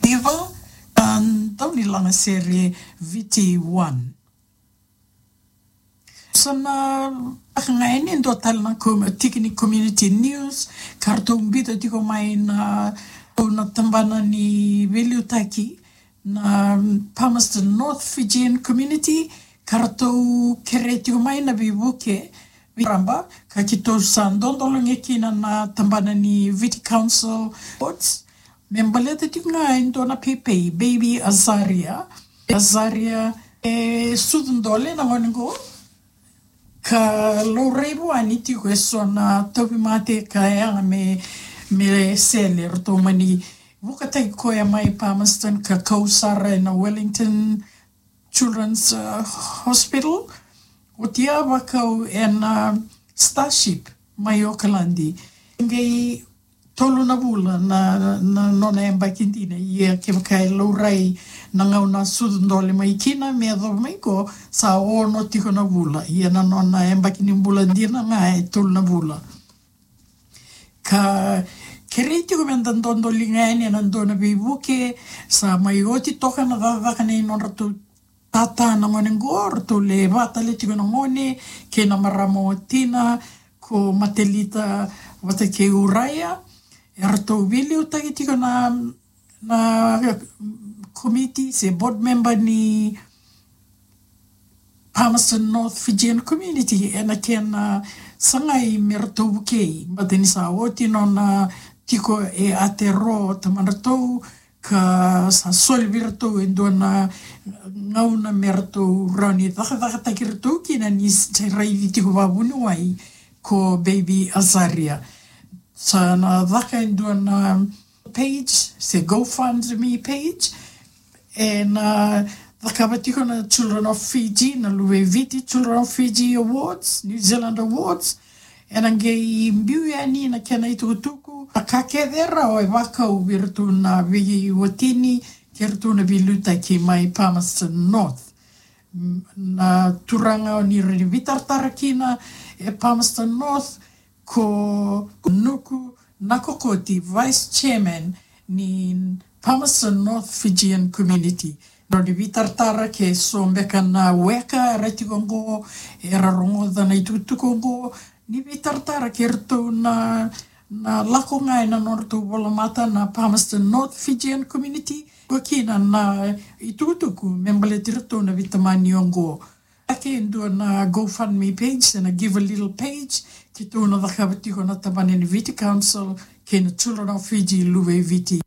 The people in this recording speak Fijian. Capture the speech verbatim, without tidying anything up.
Iva, a, dau ni laga sere Viti One. Sa na, a, ga e ni dua tale na com-, tiki ni community news, ka ratou biuta tiko mai na, na tabana ni veiliutaki, na Palmerston North Fijian Community, ka ratou kerei tiko mai na veivuke, vei raba, ka keitou sa dodolo ga kina na tabana ni Viti Council Awards, me baleta tiko ga e dua na pepe, Baby Azaria. Azaria, e sucu dole na gone qo, ka laurai vua ni tiko eso na tauvimate ka yaga me, me sele, ratou mani vukataki koya mai Palmerston ka kau sara ena Wellington Children's, uh, Hospital. Oti a vakau ena, uh, Starship mai Okaladi. Qai tolu na vula na, na nona yabaki dina, ia kevaka e laurai na gauna sucu dole mai kina me yacova mai qo, sa ono tiko na vula, ia na nona yabaki ni bula dina ga e tolu na vula. Ka kerei tiko me da dodoliga yani ena dua na veivuke, sa mai oti toka na cakacaka nei nodratou tata na gone qo, ratou lewe va tale tiko na gone, kei na marama o tina, ko Matelita vata kei Uraia, eratou veiliutaki tiko na, na komiti se board member ni Palmerston North Fijian Community, ena kena sagai me ratou vukei, baleta ni sa oti nona tiko e Aotearoa o tamadratou, ka sa soli vei ratou e dua na gauna me ratou rawa ni cakacakataki ratou kina ni s-, sa raici tiko vavuniwai ko Baby Azaria. Sa na caka e dua na page, se GoFundMe page, ena cakava tiko na Children of Fiji, na Luve i Viti Children of Fiji Awards, New Zealand Awards, ena qai biu yani na kena itukutuku, a ka kece e rawa e vakau vei iratou na veiwatini, kei iratou na veiliutaki mai Palmerston North. M-, na turaga o ni rawa ni veitaratara kina e Palmerston North, ko Nuku Nakokoti, Vice Chairman ni Palmerston North Fijian Community. Rawa ni veitaratara ke so beka na weka era tiko qo, era rogoca na itukutuku qo, ni veitaratara kei iratou na, na lako ga ena nodratou volamata na Palmerston North Fijian Community, ko kina na itukutuku me baleti iratou na veitamani oqo. Ake e dua na GoFundMe page, na Givealittle page, keitou na cakava tiko na tabana ni Viti Council, kei na Children of Fiji Luve i Viti.